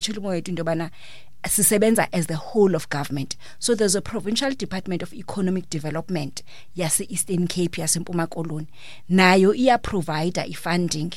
Chilimo into yobana sisebenza as the whole of government. So there's a provincial department of economic development yase Eastern Cape, yaseMpuma Koloni, nayo iya provide i-funding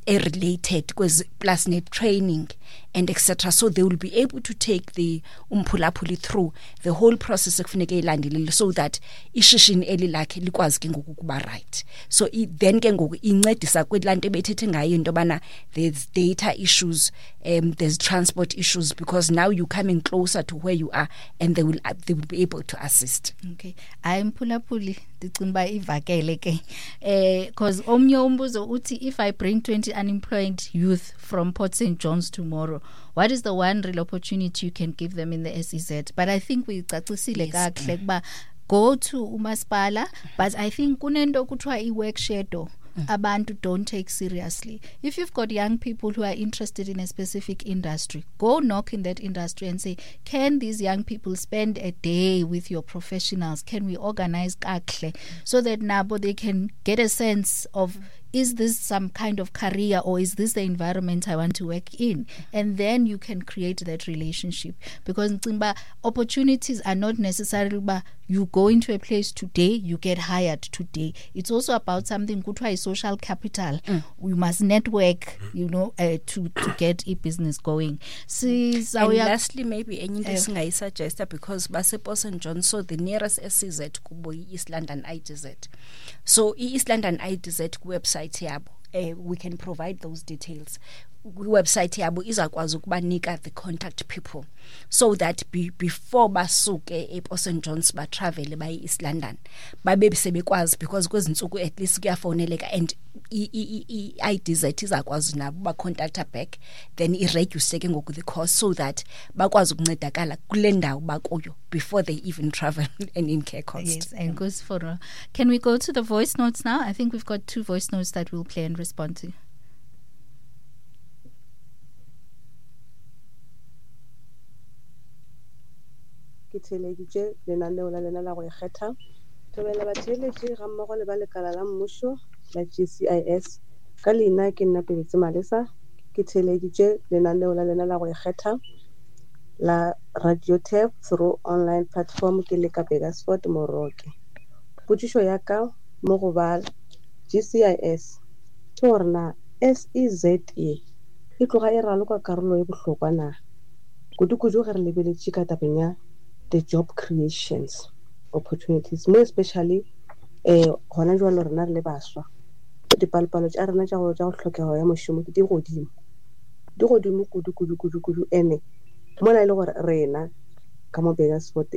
related kwezi plus net training and etc. So they will be able to take the umphulaphuli through the whole process ekufuneke ilandelile so that ishishini eli lakhe likwazi ke ngoku ukuba right. So then ke ngoku incedisa kwelaa nto ebethethe ngayo into yobana there's data issues, there's transport issues, because now you're coming closer to where you are and they will be able to assist. Okay, hayi mphulaphuli, ndicinga uba ivakele ke, cause omnye umbuzo uthi, "If I bring 20 unemployed youth from Port St John's tomorrow, what is the one real opportunity you can give them in the SEZ?" But I think uyicacisile kakuhle ukuba go to umasipala, but I think kunento kuthiwa i-work shadow abantu don't take seriously. If you've got young people who are interested in a specific industry, go knock in that industry and say, "Can these young people spend a day with your professionals? Can we organize kakuhle so that nabo they can get a sense of, is this some kind of career or is this the environment I want to work in?" And then you can create that relationship, because ndicinga uba opportunities are not necessarily uba you go into a place today, you get hired today. It's also about something kuthiwa i-social capital. You must network to get i-business going. And Sizawuya lastly, maybe enye into Eh. esingayisuggesta, because basePort St John, so the nearest SEZ kubo yi-East London IDZ. So i-East London IDZ, kwiwebsite yabo, we can provide those details, kwiwebsite yabo izakwazi ukubanika the contact people so that before basuke ePort St Johns batravele baye East London, babe sebekwazi, because kwezi ntsuku at least kuyafoneleka and i-IDZ izakwazi nabo bacontacta back, then ireduce ke ngoku the cost so that bakwazi ukuncedakala kule ndawo bakuyo before they even travel and incur cost. Yes, and goes for. Can we go to the voice notes now? I think we've got two voice notes that we'll play and respond to. Ke theeleditše lenaneo la lena la go ikgetha. Thobela batheeletši ga mmogo le ba lekala la mmušo la GCIS. Ka leina ke nna Pebetse Malesa. Ke theeleditše lenaneo la lena la go ikgetha la Radio Tap through online platform ke le ka Burgersfort, Moroke. Potšišo ya ka mo go ba GCIS ke gore na SEZ e e tloga e raloka karolo e bohlokwa na, kudu-kudu ge re lebeletše ka tabeng ya the job creations opportunities, mo especially gona jwalo rena re le baswa, dipalopalo tša rena tša go hlokego ya mošomo di godimo, di godimo kudu kudu kudu kudu. Ene mola e le gore rena ka mo Burgersfort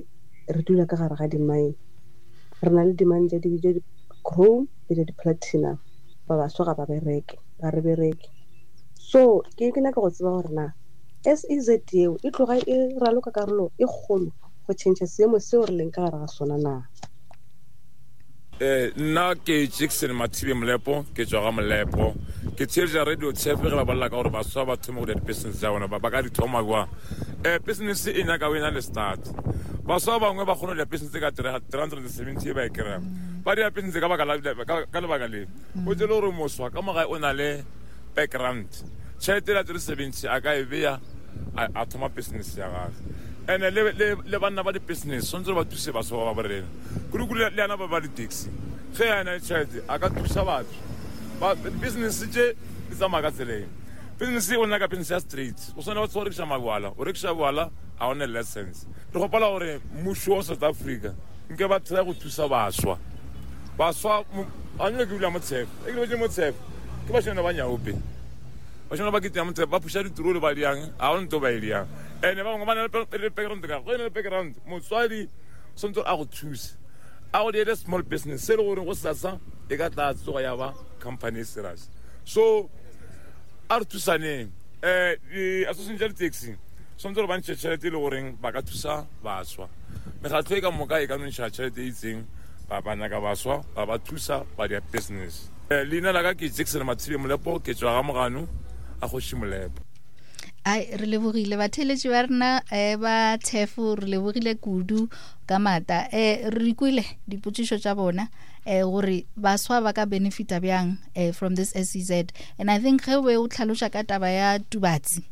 re dula ka gare ga di-mine, re na le di-mine tša di-chrome le tša di-platinum, ba baswa ga ba bereke, ga re bereke. So ke nyaka go tseba gore na SEZ eo e tloga e raloka karolo e kgolo go change seemo seo re leng ka gare ga sona na. Nna ke Jackson Mathibe Molepo, ke tswa ga Molepo. Ke theeletša Radio Tef ge ba bolela ka gore baswa ba thome go dira di-business tša bona, ba ka di thoma jwang. Business e nyaka o ena le start. Baswa ba bangwe ba kgona go dira business ka 370 e ba e kry-ang, ba dira business ka baka ka lebaka le o tsele gore moswa ka mogae o na le background, tšhelete la 370 a ka e beya a thoma business ya gage. And-e le banna ba di-business tshwanetse ba thuse baswa ba ba borena, kudu-kudu le yana ba ba di-taxi. Ge a na le tšhelete a ka thusa batho ba business tše di tsamaya ka tseleng. Business o nyaka business ya straight, o swane ba go rekiša mabjala, o rekiša bjala a one license. Re gopela gore mmušo wa South Africa nke ba try go thusa baswa. Baswa a nyake ke dula motshefo e ke lebetse motshefo ke bashimane ba nyaope, bashimane ba ketea motshefo, ba phuša ditroli ba diang, ga go nto ba e diang. And-e ba bangwe ba na le background, ka go e na le background, motswadi tshwanetse a go thuse a go diele small business se e le gore go sasa e ka tla tsoga ya ba company e serious. So a re thusaneng, di-association tša di-taxi tshwanetse gore ba ntšhe tšhelete e le goreng ba ka thusa baswa. Mekgatlho e ka moka e ka no ntšha tšhelete e itseng, ba nyaka baswa, ba ba thusa ba dia business. Leina la ka ke Jackson Mathibe Molepo, ke tswa ga Mogano a kgoši Molepo. Ai, re lebogile batheeletši ba rena ba thefo, re lebogile kudu ka mata. Re kwele dipotšišo tša bona gore baswa ba ka benefita bjang from this SEZ, and I think ge o be o tlhaloša ka taba ya Tubatsi